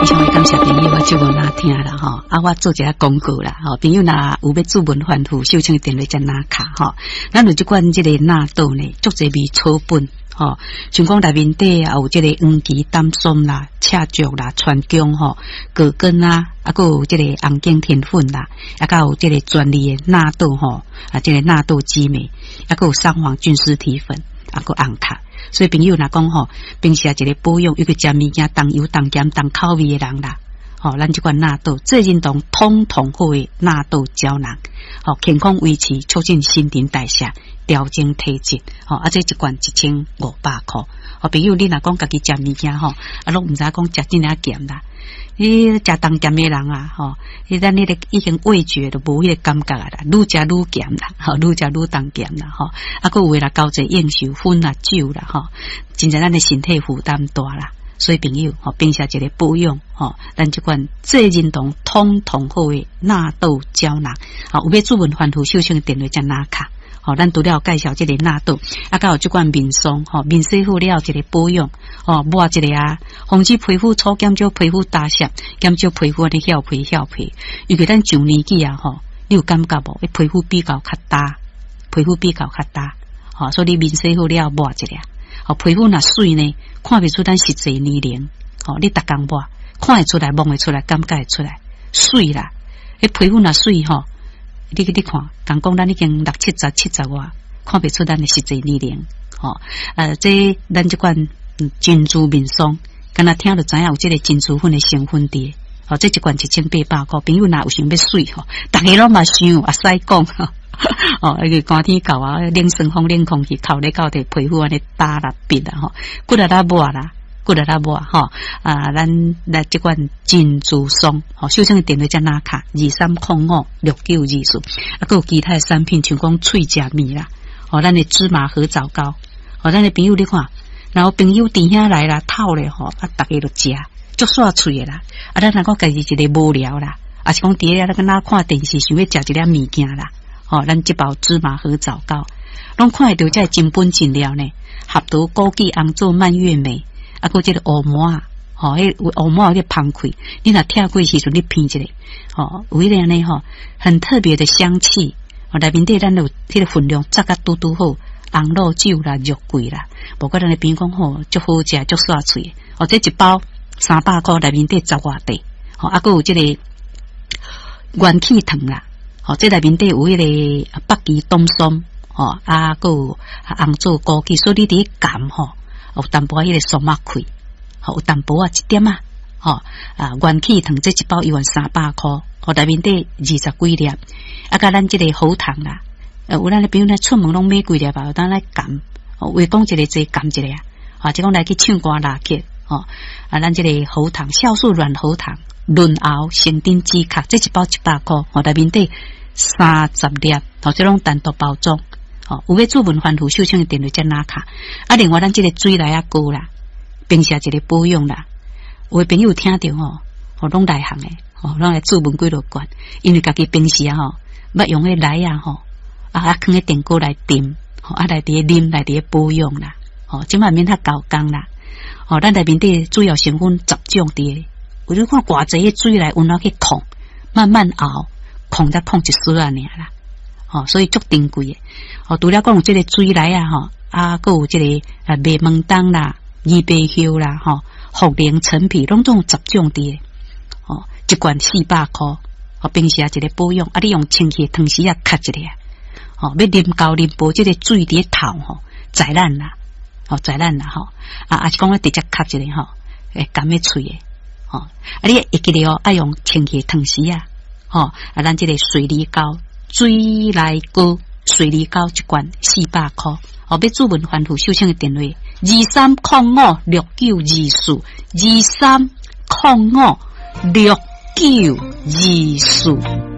以上感謝朋友我節目若聽啦吼，啊，我做一下廣告啦吼，朋友若有欲主問反覆，收聽電話才拿卡吼。咱有這款這個納豆呢，足濟味草本吼，像講內面底也有這個黃芪、丹參啦、赤石啦、川芎吼、葛根啊，啊，閣有這個紅景天粉啦，啊，閣有這個專利的納豆吼，啊，這個納豆激酶，啊，閣有桑黃菌絲體粉，啊，閣紅卡。所以朋友若講吼，平時一個保養，尤其食物件重油重鹹重口味的人啦，吼，咱這款納豆濟仁堂通通好的納豆膠囊，吼，健康維持，促進新陳代謝，調整體質，吼，啊，這一罐1500箍。吼，朋友你若講家己食物件吼，啊，攏毋知影講食這爾鹹啦，你食重鹹的人啊，吼，你咱彼個已經味覺都無彼個感覺啊啦，愈食愈鹹啦，吼，愈食愈重鹹啦，吼，啊，閣有的啦，交際應酬薰啦酒啦，吼，真正咱的身體負擔大啦。所以朋友，吼，平時一個保養，吼，咱這款濟仁堂通通好的納豆膠囊，吼，有欲主問反覆受請電話才拿卡。吼，咱除了介紹這個納豆，啊，閣有這款面霜，吼，面洗好了一個保養，吼，抹一下啊，防止皮膚粗，減少皮膚焦澀，減少皮膚按呢翹皮翹皮。尤其咱上年紀啊，吼，你有感覺無？皮膚比較較焦，皮膚比較較焦，吼，所以你面洗好了抹一下，吼，皮膚若媠呢，看袂出咱實際年齡，吼，你逐工抹，看會出來，摸會出來，感覺會出來，媠啦，彼皮膚若媠吼。你去你看，仝講咱已經六七十、七十外，看袂出咱的實際年齡，吼。這咱這款珍珠面霜，敢若聽就知影有這個珍珠粉的成分佇，吼，這一罐1800箍，朋友若有想欲媠吼，逐家攏嘛想，會使講，哦，因為寒天到啊，冷酸風、冷空氣，透咧到佇皮膚按呢焦啦、癟啦，吼，骨力啦抹啦。骨力啦抹吼，啊，咱來這款珍珠霜，吼，收聽的電話才拿卡23056924，啊，閣有其他的產品，像講喙食物啦，吼，咱的芝麻核棗糕，吼，咱的朋友你看，然後朋友佇遐來啦，透咧吼，啊，逐家都食，足煞喙的啦，啊，咱若講家己一個無聊啦，啊是講佇遐咧敢若看電視，想欲食一粒物件啦，吼，咱這包芝麻核棗糕，攏看會著這真本真料呢，合桃枸杞紅棗蔓越莓。啊，閣這個烏麻仔，吼，彼烏麻仔有彼芳氣，你若拆開時陣，你聞一下，吼，有彼個按呢吼，很特別的香氣。吼，內面底咱有彼個分量，抓甲拄拄好，紅露酒啦、肉桂啦，無怪咱的朋友講吼，足好食，足煞喙。哦，這一包300箍，內面底十外塊，吼，啊，閣有這個元氣糖啦，吼，這內面底有彼個北芪黨參，吼，啊，閣有紅棗枸杞，所以你佇咧含吼。有淡薄仔彼個酸仔氣，吼，有淡薄仔一點仔，吼，啊，元氣糖這一包猶原300箍，吼，內面底二十幾粒，啊，佮咱這個喉糖啦，有咱的朋友咧出門攏買幾粒吧，有當來含，話講一個濟含一個啊，或者講來去唱歌拉客，吼，啊，咱這個喉糖酵素軟喉糖潤喉成頂止咳，這一包100箍，吼，內面底30粒，吼，這攏單獨包裝。吼，有欲主問反覆受請的電話才拿卡。啊，另外咱這個水梨仔膏啦，平時一個保養啦。有的朋友聽著吼，吼攏內行的，吼攏來注文幾落罐，因為家己平時啊吼，捌用彼梨仔吼，啊啊囥佇電鍋來浸，吼啊來佇咧啉，來佇咧保養啦。吼，這擺免較猴工啦。吼，咱內面底主要成分十種佇咧，有你看偌濟彼水梨溫怎去控，慢慢熬，控才控一絲仔爾啦。吼，所以足珍貴的。吼，除了講有這個水梨啊，吼，啊，閣有這個啊麥門冬啦、枇杷葉啦，吼，茯苓、陳皮，攏總有十種佇咧。吼，一罐400箍，吼，平時也一個保養，啊，你用清氣的湯匙仔敲一下，吼，欲啉厚啉薄，這個水佇咧透吼，在咱啦，吼，在咱啦，吼，啊，啊是講直接敲一下吼，會甘咧喙的，吼，啊，你會記得哦，愛用清氣的湯匙仔，吼，啊，咱這個水梨膏。水梨膏，水梨膏一罐400箍，哦，欲主問反覆收聽的電話23056924，23056924。